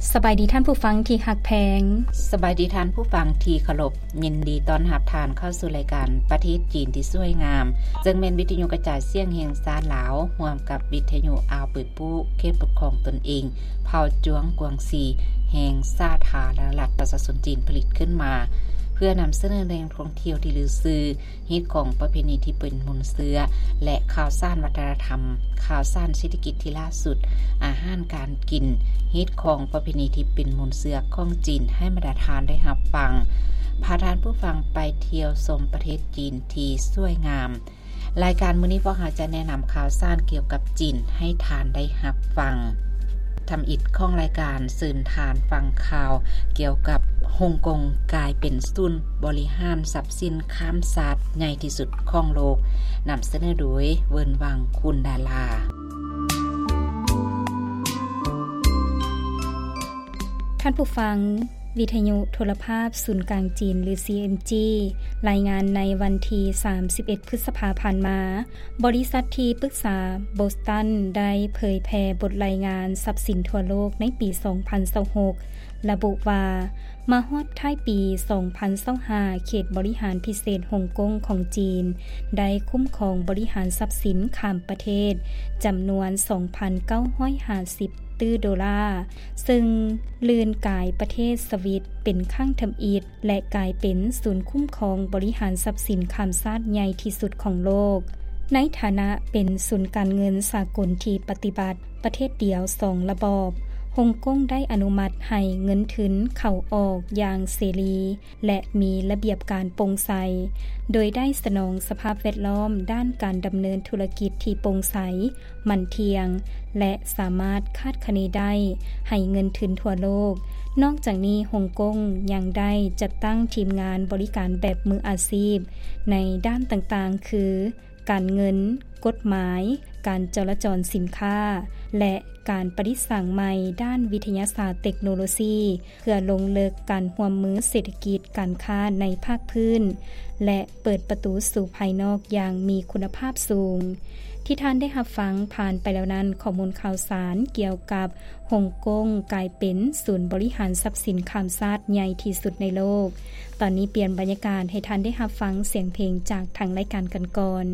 ສະບາຍດີທ່ານຜູ້ຟັງທີ່ຮັກແພງ. ສະບາຍດີທ່ານຜູ້ຟັງທີ່ເຄົາລົບ. ຍິນດີຕ້ອນຮັບທ່ານເຂົ້າສູ່ລາຍການປະເທດຈີນທີ່ສວຍງາມ, ເຊິ່ງແມ່ນວິທະຍຸກະຈາຍສຽງແຫ່ງຊາດລາວ ຮ່ວມກັບວິທະຍຸອາວປຶຍປູ້ ເຂດປົກຄອງຕົນເອງເຜົ່າຈວງກວາງຊີ ແຫ່ງສາທາລະນະລັດປະຊາຊົນຈີນ ຜະລິດຂຶ້ນມາ ເພື່ອນຳສະເໜີແຫຼ່ງທ່ອງທ່ຽວທີ່ລືຊື່, ຮີດຄອງປະເພນີທີ່ເປັນມູນເຊື້ອ ແລະ ຂ່າວສານວັດທະນະທຳ, ຂ່າວສານເສດຖະກິດທີ່ລ່າສຸດ, ອາຫານການກິນ, ຮີດຄອງປະເພນີທີ່ເປັນມູນເຊື້ອຂອງຈີນ ໃຫ້ບັນດາທ່ານໄດ້ຮັບຟັງ. ພາທ່ານຜູ້ຟັງໄປທ່ຽວຊົມປະເທດຈີນທີ່ສວຍງາມ. ລາຍການມື້ນີ້ພວກເຮົາຈະແນະນຳຂ່າວສານກ່ຽວກັບຈີນໃຫ້ທ່ານໄດ້ຮັບຟັງ. ທຳອິດຂອງລາຍການ ເຊີນທ່ານຟັງຂ່າວກ່ຽວກັບຮົງກົງກາຍເປັນສູນບໍລິຫານຊັບສິນຂ້າມຊາດໃຫຍ່ທີ່ສຸດຂອງໂລກ, ນຳສະເໜີໂດຍ ເວີນວັງ ຄຸນດາລາ. ທ່ານຜູ້ຟັງ, ວິທະຍຸໂທລະພາບສູນກາງຈີນ ຫຼື ຊີເອັມຈີ ລາຍງານໃນວັນທີສາມສິບເອັດ ພຶດສະພາຜ່ານມາ, ບໍລິສັດທີ່ປຶກສາໂບສຕັນໄດ້ເຜີຍແຜ່ບົດລາຍງານຊັບສິນທົ່ວໂລກໃນປີສອງພັນຊາວຫົກ ລະບຸວ່າ ມາຮອດທ້າຍປີສອງພັນຊາວຫ້າ ເຂດບໍລິຫານພິເສດຮົງກົງຂອງຈີນ ໄດ້ຄຸ້ມຄອງບໍລິຫານຊັບສິນຂ້າມປະເທດ ຈຳນວນສອງພັນເກົ້າຮ້ອຍຫ້າສິບຕື້ໂດລາ, ເຊິ່ງລື່ນກາຍປະເທດສະວິດເປັນຄັ້ງທຳອິດ ແລະ ກາຍເປັນສູນຄຸ້ມຄອງບໍລິຫານຊັບສິນຂ້າມຊາດໃຫຍ່ທີ່ສຸດຂອງໂລກ. ໃນຖານະເປັນສູນການເງິນສາກົນທີ່ປະຕິບັດປະເທດດຽວສອງລະບອບ, ຮົງກົງໄດ້ອະນຸມັດໃຫ້ເງິນທຶນເຂົ້າອອກຢ່າງເສລີ ແລະ ມີລະບຽບການໂປ່ງໃສ, ໂດຍໄດ້ສະໜອງສະພາບແວດລ້ອມດ້ານການດຳເນີນທຸລະກິດທີ່ໂປ່ງໃສ, ໝັ້ນທ່ຽງ ແລະ ສາມາດຄາດຄະເນໄດ້ໃຫ້ເງິນທຶນທົ່ວໂລກ. ນອກຈາກນີ້, ຮົງກົງຍັງໄດ້ຈັດຕັ້ງທີມງານບໍລິການແບບມືອາຊີບໃນດ້ານຕ່າງໆ ຄື ການເງິນ, ກົດໝາຍ, ການຈະລາຈອນສິນຄ້າ ແລະ ການປະດິດສ້າງໃໝ່ດ້ານວິທະຍາສາດເຕັກໂນໂລຊີ ເພື່ອລົງເລິກການຮ່ວມມືເສດຖະກິດການຄ້າໃນພາກພື້ນ ແລະ ເປີດປະຕູສູ່ພາຍນອກຢ່າງມີຄຸນນະພາບສູງ. ທີ່ທ່ານໄດ້ຮັບຟັງຜ່ານໄປແລ້ວນັ້ນ, ຂໍ້ມູນຂ່າວສານກ່ຽວກັບຮົງກົງກາຍເປັນສູນບໍລິຫານຊັບສິນຂ້າມຊາດໃຫຍ່ທີ່ສຸດໃນໂລກ. ຕອນນີ້ປ່ຽນບັນຍາກາດໃຫ້ທ່ານໄດ້ຮັບຟັງສຽງເພງຈາກທາງລາຍການກັນກ່ອນ.